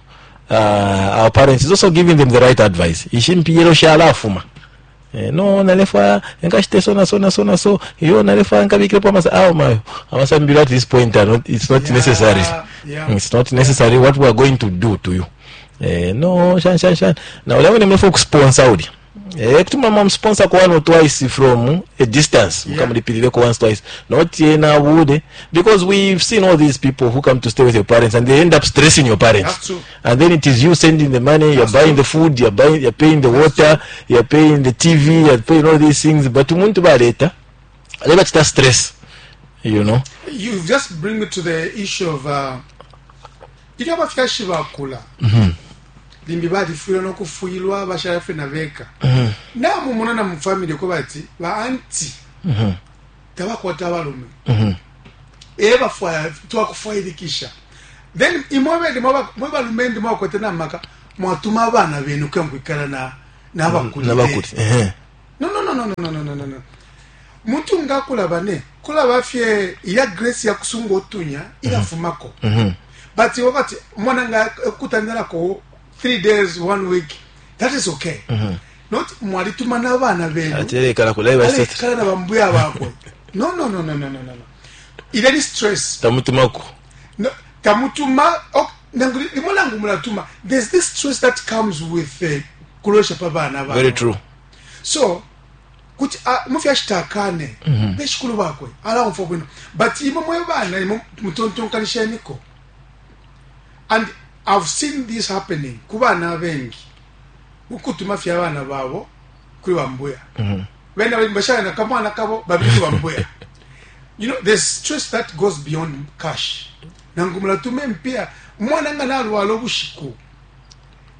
uh, our parents is also giving them the right advice. Ishimpiyero shalafuma. Eh, no nalefa nkashite so na so na so na so iyo nalefa nkabikirepo amasa awo mayo amasambiro at this point are not, it's not Yeah, necessary. yeah. It's not necessary what we are going to do to you. Eh, no shan shan shan na ule mwene mrefu kusponsor uli eh kutuma mwa sponsor kwa one or twice from a distance. Yeah. Mukamulipilireko once twice, not yena bude, because we've seen all these people who come to stay with your parents and they end up stressing your parents. That's true. And then it is you sending the money, you're That's buying true. the food, you're buying, you're paying the water, you're paying the T V, you're paying all these things, but umuntu baleta aleba chita stress you know You just bring me to the issue of uh, ilyo abafyashi bakula limbi balifwilwa nokufwilwa bashala fye na beka namumona na mufamily ko bati ba aunty tabakwata abalume. Ebafwaya twakufwailikisha. Then imwe bene mwe balumendi mwakwete namaka mwatuma abana benu kuya mukwikala na nabakulire. Nabakuli ehe. No no no no no no no no no. Muntu nga kulaba ne kulaba fye iya grace ya kusunga otunya ilafumako. Mm -hmm. But wakati mwana nga kutandalako three days one week, that is okay. Mm -hmm. Not mwalituma n'abana benu. Atelekala kulaiba Alekala na bambuya bakwe. No no no no no no no. Ile stress. Tamutumako. No, tamutuma ok, nangu limo nangu mulatuma. There's this stress that comes with uh, kulosha pa bana bana. Very true. So kuti uh, mufyashitakane mm -hmm. beshikulu bakwe alaumfa bwino, but imwe mwe bana imwe mutontonkanisheniko. And I've seen this happening ku bana abengi ukutuma fya abana babo kuri bambuya. Mm -hmm. Bena bali bashana kamwana kabo babiri ku bambuya. You know, there's stress that goes beyond cash. Nangu mulatume mpia mwana nga nalwala obushiku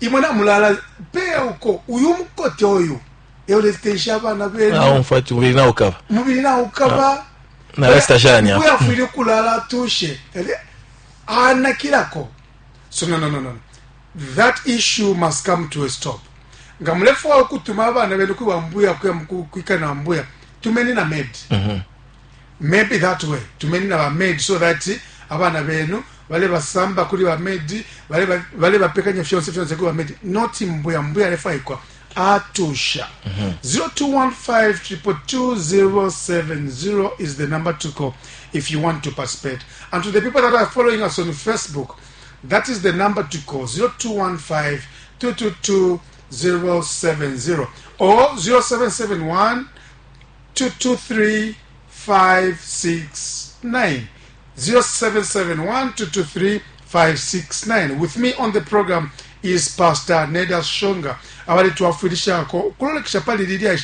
imwe namulala peya uko uyu mukote oyu euletesha abana benu Aumfa mubiri nawo ukaba. Mubiri nawo ukaba. Na resta shani hapo. Uyafwile kulala atushe anakirako. So no no no no, that issue must come to a stop. Nga mulefu wa kutuma abana benu kuba mbuya kuya kwika na mbuya tumeni na maid. Mm -hmm. Maybe that way tumeni na ba maid so that abana benu bale basamba kuri ba maid, bale bale bapekanya fyonse fyonse kuri ba maid, not mbuya mbuya lefa ikwa atusha. Mm -hmm. zero two one five triple two zero seven zero is the number to call if you want to participate. And to the people that are following us on Facebook, that is the number to call, zero two one five two two two zero seven zero or zero seven seven one two two three five six nine. zero seven seven one two two three five six nine. With me on the program is Pastor Neda Shonga. Abali tuwafundishako kulolekesha pali lilya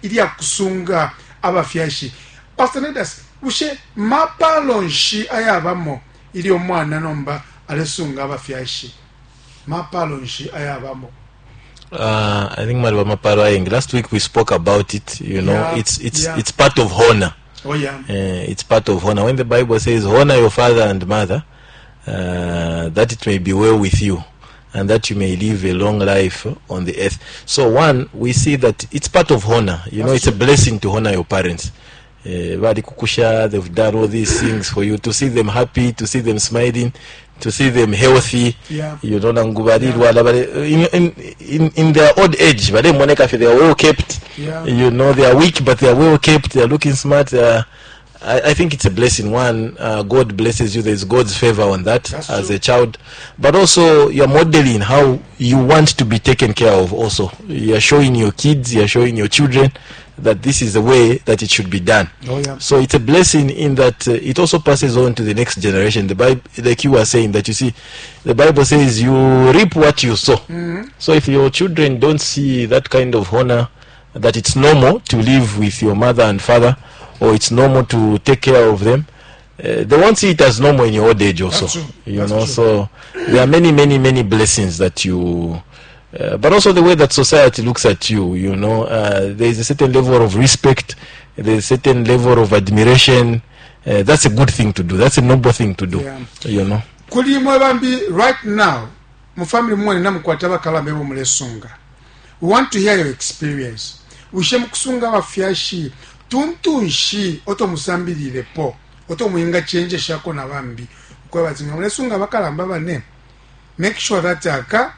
ilya kusunga abafyashi. Pastor Nedas, ushe mapalo nshi ayabamo ili omwana nomba alesunga abafyashi. Mapalo nshi ayabamo. Uh, I think Maliba mapalo ayengi. Last week we spoke about it, you know, Yeah, it's it's yeah. it's part of honor. Oh yeah. Uh, it's part of honor. When the Bible says honor your father and mother, uh, that it may be well with you and that you may live a long life on the earth. So one, we see that it's part of honor. You know, That's it's a blessing to honor your parents. Uh, bali kukusha, they've done all these things for you, to see them happy, to see them smiling, to see them healthy. Yeah. You know, nangu balilwala, bali- in, in, in, in their old age, balemoneka they are well kept. Yeah. You know, they are weak, but they are well kept. They are looking smart. They are, I, I think it's a blessing. One, uh, God blesses you. There's God's favor on that That's as true. a child. But also, you're modeling how you want to be taken care of also. You're showing your kids, you're showing your children that this is the way that it should be done. Oh yeah. So it's a blessing in that uh, it also passes on to the next generation. The Bible, like you were saying, that you see, the Bible says you reap what you sow. Mm-hmm. So if your children don't see that kind of honor, that it's normal to live with your mother and father, or it's normal to take care of them, uh, they won't see it as normal in your old age also. That's true. You That's know, true. so there are many, many, many blessings that you. Uh, but also the way that society looks at you, you know, uh, there is a certain level of respect, there is a certain level of admiration. Uh, that's a good thing to do. That's a noble thing to do. Yeah. You know. Kuli imwe bambi right now mu family mwene namukwata bakalamba ebo mulesunga. We want to hear your experience. Ushe mukusunga abafyashi tuntunshi oto musambililepo oto muinga chenje shako na bambi ukweba nga mulesunga bakalamba bane, make sure that aka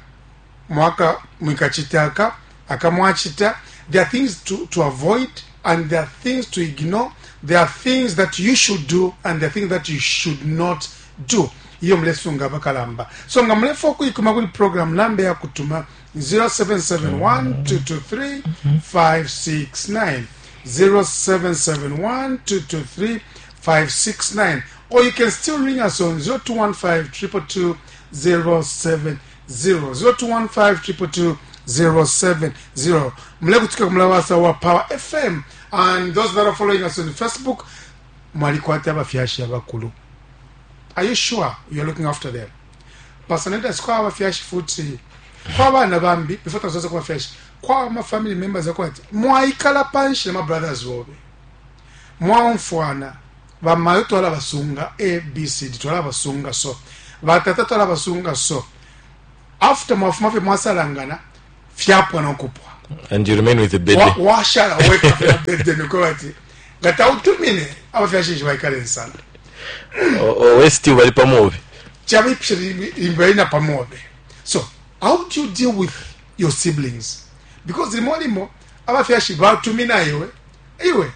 mwaka mwikachita aka mwachita. There are things to, to avoid and there are things to ignore. There are things that you should do and there are things that you should not do. Iyo mulesunga bakalamba. So nga mulefa okuikuma kuli program namba ya kutuma zero seven seven one two two three five six nine, zero seven seven one two two three five six nine, or you can still ring us on zero two one five triple two zero seven zero, zero two one five triple two zero seven zero. Mlekutika kumlawasa wa Power F M, and those that are following us on Facebook, mwalikwata abafyashi abakulu. Are you sure you're looking after them? Pastor Neda, kwa abafyashi futi kwa abana bambi before tasoza kwa abafyashi kwa ma family members akwati mwaikala panshi na ma brothers wobe mwaumfwana Bamayo twalabasunga A B C D, twalabasunga so, batata twalabasunga so. After mwafuma fye mwasalangana, fyapwa nokupwa. And you remain with the baby. Wa- washala weka fye na burden uko ati nga tautumine abafyashi baikale nsala. O- o we still bali pamobe. Chabipisha imbaina pamobe. So how do you deal with your siblings? Because limo limo abafyashi batumina iwe, iwe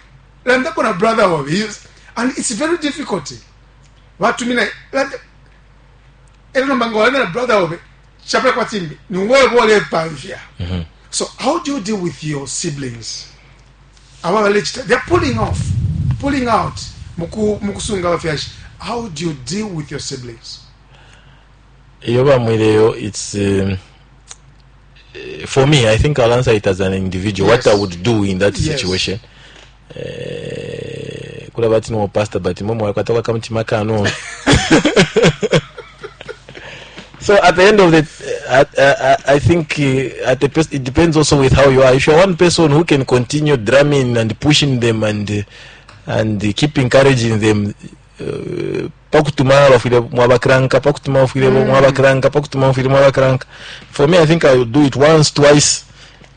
landako na brother wawe. You- and it's very difficult. Batumina landa ero nomba walanda na brother wawe chapela kwa timbi ni wewe bole pamfya. So how do you deal with your siblings? Aba balechita, they're pulling off, pulling out muku mukusunga abafyashi. How do you deal with your siblings? Iyo bamwireyo, it's um, eh, for me, I think I'll answer it as an individual. Yes. What I would do in that Yes. situation, eh, kulaba ati no pastor, but mwe mwakwata kamutima kano. So at the end of the, uh, uh, I think uh, at the pers- it depends also with how you are. If you're one person who can continue drumming and pushing them and uh, and uh, keep encouraging them, uh, pakutuma bafwile mwabakranka, pakutuma bafwile mwabakranka, pakutuma bafwile mwabakranka. For me, I think I will do it once, twice.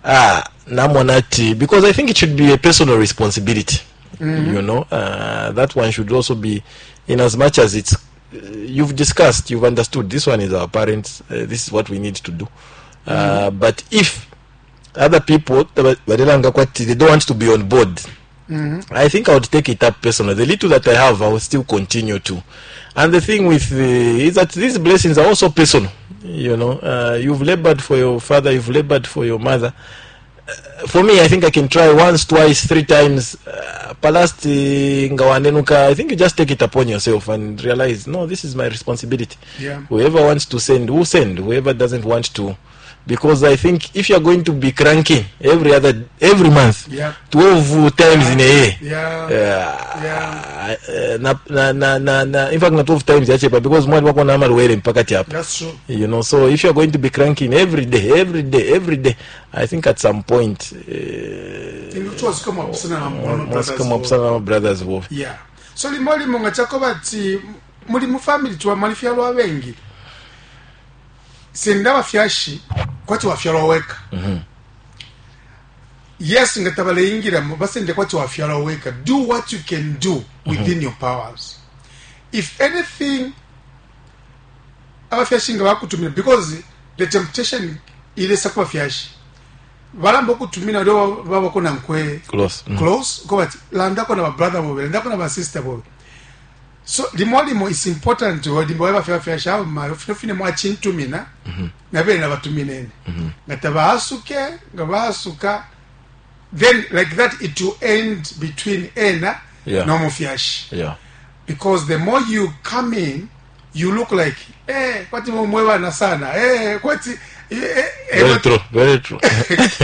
Ah, namonati, because I think it should be a personal responsibility. You know, uh, that one should also be, in as much as it's, uh, you've discussed, you've understood, this one is our parents, uh, this is what we need to do. Uh, but if other people, balelanga kwati, they don't want to be on board, I think I would take it up personally. The little that I have, I will still continue to. And the thing with the, is that these blessings are also personal. You know, uh, you've labored for your father, you've labored for your mother. Uh, for me, I think I can try once, twice, three times. Uh, Palasti ngawanenuka, I think you just take it upon yourself and realize, no, this is my responsibility. Yeah. Whoever wants to send, will send. Whoever doesn't want to. Because I think if you're going to be cranky every other, every month, Yeah. twelve times in a year, Yeah. yeah. Yeah. Uh, na, na, na, na, na, in fact na twelve times yachepa because mwali wako na amalwere mpaka chapa. That's true. You know, so if you're going to be cranking every day, every day, every day, I think at some point uh, Inutwa mwapusana na mwana brothers. mwasika mwapusana na brothers wo. Yeah. So limo limo nga chako bati muli mu family tuwa malifyalwa abengi. Senda bafyashi kwati wafyalwa weka. Mm-hmm. Yes, nga tabaleingira mu basende kwati wafyalwa weka. Do what you can do within mm-hmm. your powers. If anything abafyashi nga bakutumira, because the temptation ilesa ku bafyashi. Balamba okutumira lyo babako nankwe Close. Mm. close ko bati landako na ba brother bobe, landako na ba sister bobe. So limo limo is important limbo bafya bafyashi abo ma fine fine mwachintumina na bene nabatuminene. Nga tabaasuke nga baasuka, then like that it will end between ena Yeah. n'omufyashi. Yeah. Because the more you come in, you look like, eh, kwati mwebana sana, eh, kwati, eh, eh, Very kwati- true. Very true.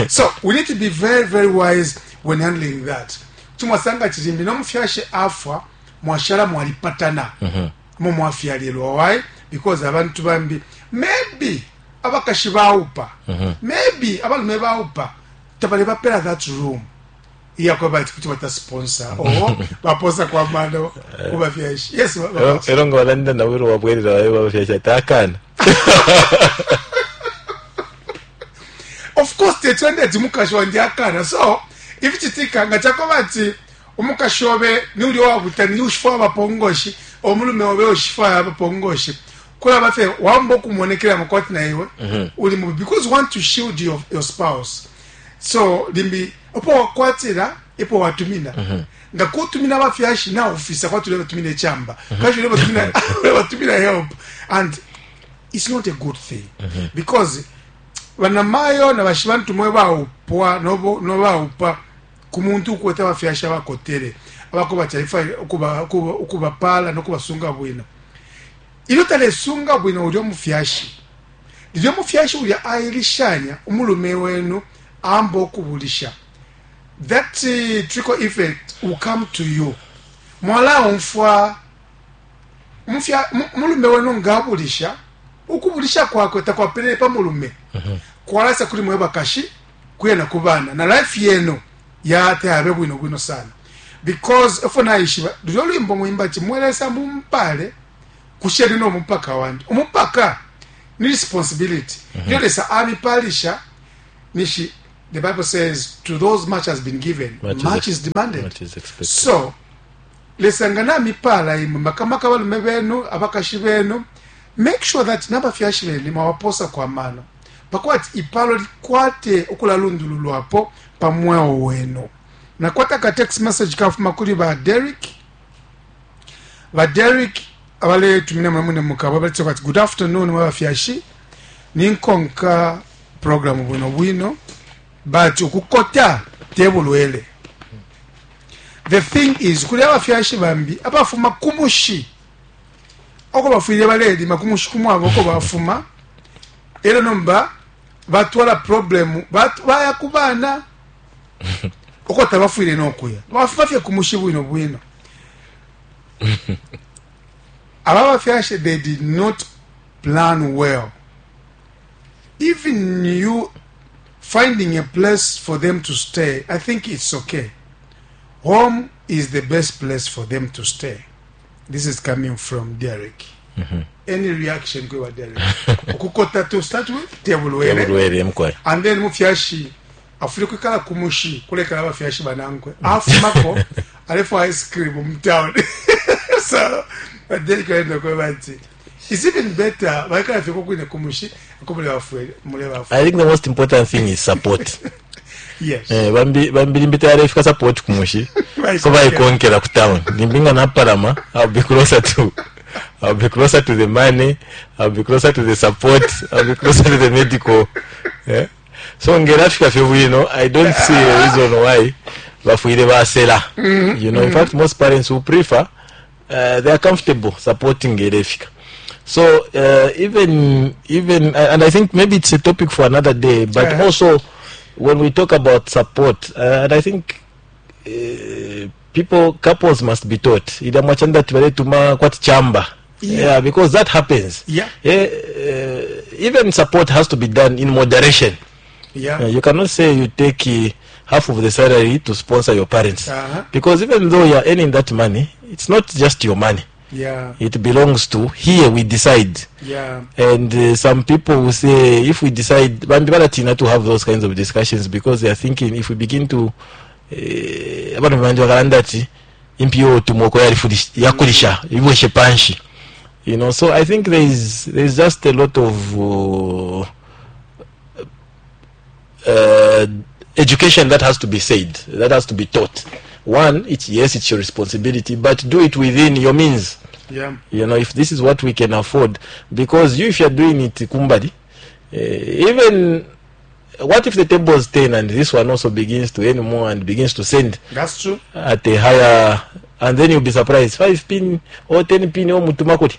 So we need to be very, very wise when handling that. Tumwasanga chirimbi n'omufyashi afwa mwashala mwalipatana mu mwafyalirwa. Why? Because abantu bambi maybe abakashi baupa, maybe abalume baupa tabale bapera that room iyakweba ati kuti bata sponsor or baposa kwa mano kubafyashi. Yes, ba- ba- Ero nga balanda nawero wabwerera babe babafyashi ati akana. Of course tetwende ati mukashi wandi akana. So if chitika nga chakoba ati umukashi obe ni uli wabuta ni ushifwa abapongoshi, omulume obe ushifwa abapongoshi, kula bafe wambo kumonekera makwati na iwe uli mu, because you want to shield your, your spouse. So limbi opo wakwatira ipo watumina nga kutumina abafyashi na ofisa kwati ule batumina echamba kashi ule batumina ule batumina help, and it's not a good thing because banamayo na bashibantu mwe baupwa nobo no baupa ku muntu ukweta abafyashi abakotere abako bataifa ukuba ukuba ukubapala no kubasunga bwino. Ilyo talesunga bwino ulyo mufyashi, lilyo mufyashi ulya ailishanya umulume wenu amba okubulisha, that uh, trickle effect will come to you. Mwala umfwa mufya mu- mulume wenu ngabulisha, ukubulisha kwakwe takwapelele pa mulume, kwalasa kuli mwe bakashi kuya na kubana na life yenu yate abe bwino bwino sana. Because efo naishiba lulyo lwimbo mwimba ati mwelesa mumpale kusheni no mupaka wandi. Umupaka ni responsibility. Mm -hmm. Lesa amipalisha nishi. The Bible says to those much has been given, much, much is, is demanded. Much is expected. So lesa ngana mipala imwe makamaka balume benu abakashi benu, make sure that nabafyashi benu mwabaposa kwa mano pakwati ipalo likwate okulalundululwapo pamweo wenu. Nakwata ka text message kafuma kuli ba Derek. Ba Derek abale tumina mwamune mukabo bali ati good afternoon mwabafyashi, ninkonka program bwino bwino, but ukukota tebulwele. The thing is kuli abafyashi bambi abafuma kumushi oko bafwile balelima kumushi kumwabo oko bafuma ero nomba batwala problem baya kubana oko tabafwile nokuya bafuma fye kumushi bwino bwino. Abafyashi, they did not plan well. Even you finding a place for them to stay, I think it's okay. Home is the best place for them to stay. This is coming from Derek. Mm-hmm. Any reaction kwa Derek? Okukota to start with tebulwele. And then mufyashi afuri kwikala kumushi kuleka abafyashi banankwe. Afumako alefo ice cream mu town. So Derek aenda kwa bati. It's even better baikala fiko kwine kumushi akomule bafwe mule bafwe. I think the most important thing is support. Yes. Eh bambi bambi mbita yarefika support kumushi. Ko bayikonkera ku town. Nimbinga na parama, I'll be closer to I'll be closer to the money, I'll be closer to the support, I'll be closer to the medical. Yeah. So ngerafika fye I don't see a reason why bafuire basela. Mm-hmm. You know, in mm-hmm. fact most parents who prefer uh, they are comfortable supporting ngerafika. So uh, even even uh, and I think maybe it's a topic for another day, but yeah. also when we talk about support, uh, and I think uh, people, couples must be taught. Yeah. Yeah, because that happens. Yeah. Yeah, uh, even support has to be done in moderation. Yeah. Uh, you cannot say you take uh, half of the salary to sponsor your parents. Uh-huh. Because even though you are earning that money, it's not just your money. Yeah. It belongs to here we decide. Yeah. And uh, some people will say if we decide bambi to have those kinds of discussions because they are thinking if we begin to abantu banje bakalanda impiyo tumoko yakulisha ibweshe panshi, you know. So I think there is there is just a lot of uh, uh, education that has to be said, that has to be taught. One, it's yes, it's your responsibility, but do it within your means. Yeah. You know, if this is what we can afford, because you, if you're doing it kumbali, uh, even what if the table is ten and this one also begins to earn more and begins to send? That's true. At a higher, and then you'll be surprised. Five pin or ten pin or mutumakoti.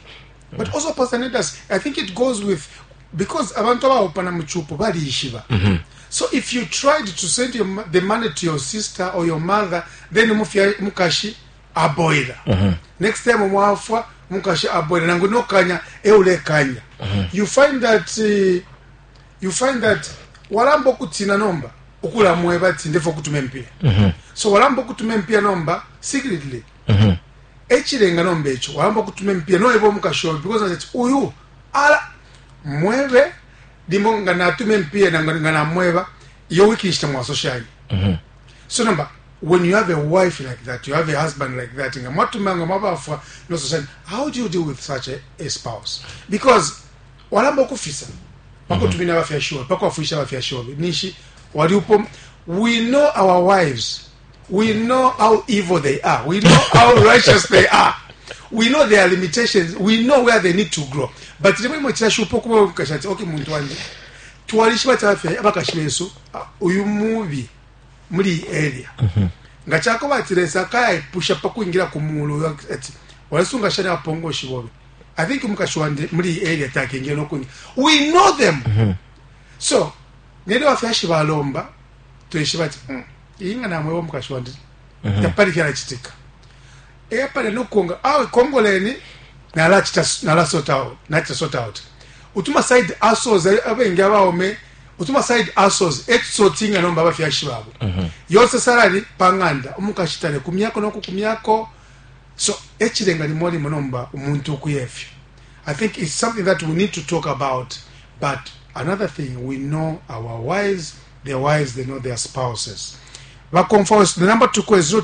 But also, Pastor Nedas, I think it goes with, because abantu abaopana muchupo bali ishiba. Mm-hmm. So if you tried to send your, the money to your sister or your mother, then mukashi aboida. Mm-hmm. Next time mwafwa mukashi aboida nangu nokanya eule kanya. Mm-hmm. You find that uh, you find that walambo kutina nomba ukula mweba tindefo kutume mpia. Mm-hmm. So walambo kutume mpia nomba secretly. Mm-hmm. Echilenga nomba echo walambo kutume mpia no ebo mukasho because that uyu ala mwebe limo nga natume mpia na nga namweba iyo wiki ishita mwasoshani. Mm-hmm. So number, when you have a wife like that, you have a husband like that, nga mwatumanga mwabafwa no soshani, how do you deal with such a, a spouse? Because walambo kufisa pako tumina abafyashiwa pako afisha abafyashiwa nishi waliupo. We know our wives, we know how evil they are, we know how righteous they are, we know their limitations, we know where they need to grow. But rimwe mwe chashupo kuba kashati okay muntu wanje twalishiba tafe abakashibeso uyu mubi muri area ngachako batiresa kaya pusha pakuingira kumulu ati walisunga shana apongo shibobe. I think mukashwande muri area takingira nokungi. We know them. Mm-hmm. So nende wafyashi balomba tuyishibati mm, inga namwe mukashwande mm-hmm. tapali kyala chitika e pale nokunga awe kongoleni nala chita nala sort out nala sort out utuma side asoza abengi abaome Utuma side hustles etusotinga nomba abafyashi babo yonse salary pa ng'anda, umukashi tale kumyako nokukumyako. So echilenga limo limo nomba umuntu ukuyefyo. I think it's something that we need to talk about. But another thing, we know our wives, their wives, they know their spouses. Bakomfa, the number to call is zero.